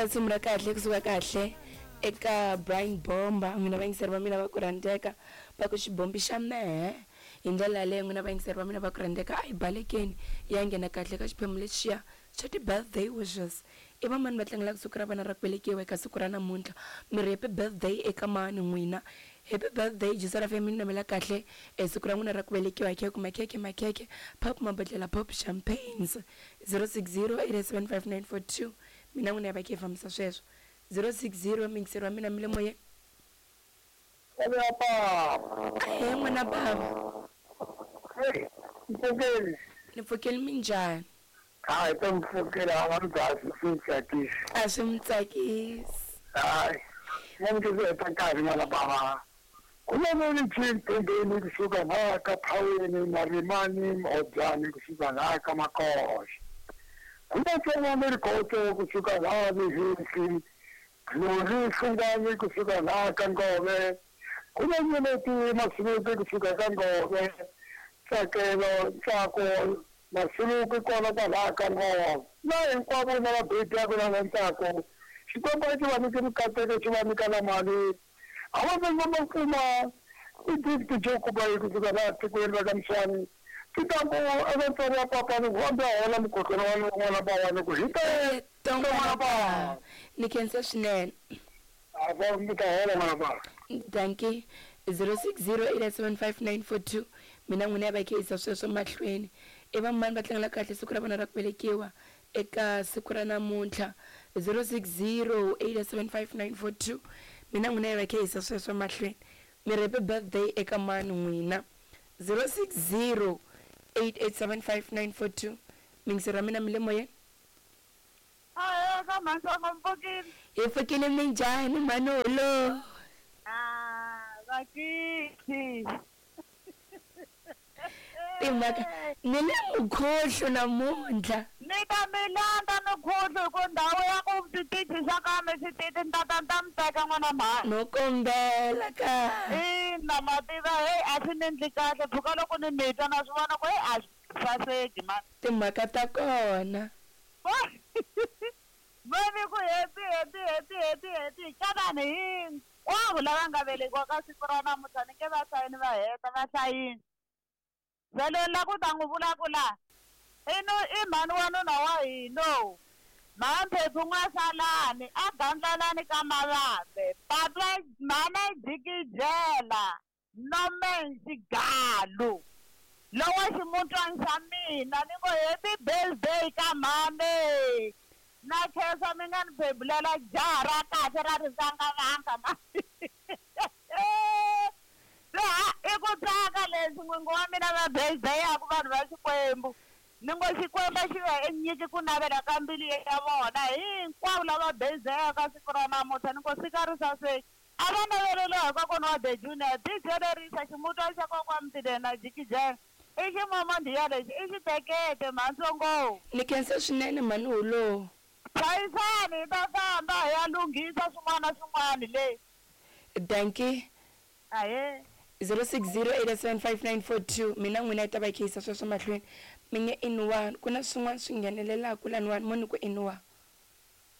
Risimu ra kahle kusuka kahle eka Brian Bomba n'wina vayingiseri va mina va ku rhandzeka va ku xibombi xa mehe hi ndlela yaleyo n'wina vayingiseri va mina va ku rhandzeka a hi balekeni hi ya nghena kahle ka xiphemu lexiya xa ti-birthday wishes i va mani va tlangelaka siku ra vona ra ku velekiwa eka siku ra namuntlha mi ri happy birthday eka mani n'wina happy birthday Jisara FM mi namela kahle e siku ra n'wina ra ku velekiwa hi khekhe makhekhe makhekhe pop mabodlela pop champagnes 060 875 mina n'wina ya va khe hi fambisa sweswo 060 mingiseri wa mina mi le moyeni Ahee n'wana bava. Hey, mpfukeli. Ni pfukeli minjhani? Hayi to mi pfukela a va mi dlaya swi mi tsakisi. A swi mi tsakisi. Hayi, na mi ku heta nkarhi n'wana bava. Ku na ni chief Tembeni kusuka laha ka Phaweni Marimani Mhobyani kusuka laha ka Makoxa. Ku na Tsongwana Rikhotso kusuka laha Mihisi Glory Hlungwani kusuka laha ka Ngove ku na Nyeleti Masuluke kusuka ka Ngove Ntsakelo Ntsako Masuluke kona kwalaha ka Ngove na hinkwavo na va bebiyaku na va Ntsako Xikwembu a xi va nyike mikateko xi va nyika na mali a va va va kuma i gift jo kuba kusuka laha tikweni ra ka Mswani Titambu eka ntswari wa papa ni ku hambi a hola mukhohlwana wa n'wana bawani ku hi ta n'wana bava ni khensa swinene a va mi ta hola n'wana bava danki 06087594 mina n'wina ya va khe yisa sweswo mahlweni i va mani va tlangela kahle siku ra vona ra ku velekiwa eka siku ra namuntlha 06087594 mina n'wina ya va khe yisa sweswo mahlweni mi ri happy birthday eka mani n'wina 060 8875942 mingiseri wa mina mi le moyeni Ahee ka mhantsongo mi pfukile hi pfukile minjhani manolo Ah, vakithi timhaka ni le mukhohlo namuntlha ni ta mi landza mikhuhlu hi ku ndhawu ya ku switichi swa ka mi swititi ni ta ta ni ta mi teka n'wana mhani no kombela ka ina ma tiva heyi a swi ni endli kahle pfuka loko ni mi twa na swi vona ku heyi a swi saseki mani timhaka ta kona va ni ku happy happy happy happy happy ka vanhu hinkwavo lava nga velekiwa ka siku ra namuntlha ni nge va hlayini va heta va hlayini se loyi la ku ta n'wi vulavula i nu i mhani wa nuna wa hina mhamphephu n'wasalani a gandlalani ka mavambe papa mhana jikijela nomen xigalu lowa ximutwani xa mina ni ngo happy birthday ka mhani na khensa mi nga ni bebulela jaha ra kahle ra rizangavanga ma laha i ku tsaka leswi n'wingi wa mina va birthday-yaku vanhu va Xikwembu ni ngo Xikwembu xi va nyiki ku navela ka mbilu ya vona hinkwavo lava birthday-yaka siku ra namuntlha ni ngo sika ri saseki a va naveleliwa hi kokwana wa the junior DJ lerisa ximutwana xa kokwana Mtileni na jikijela i ximomondiya lexi i xitekete mhantsongo ni khensa swinene mhani hulo hlayisani hi ta famba hi ya lunghisa swin'wana na swin'wana le danki ahee 06087594 mina n'wina yi ta va yi khe yisa sweswo mahlweni mi nge iniwani ku na swin'wana swi nghenelelaku laniwani mo ni ku iniwa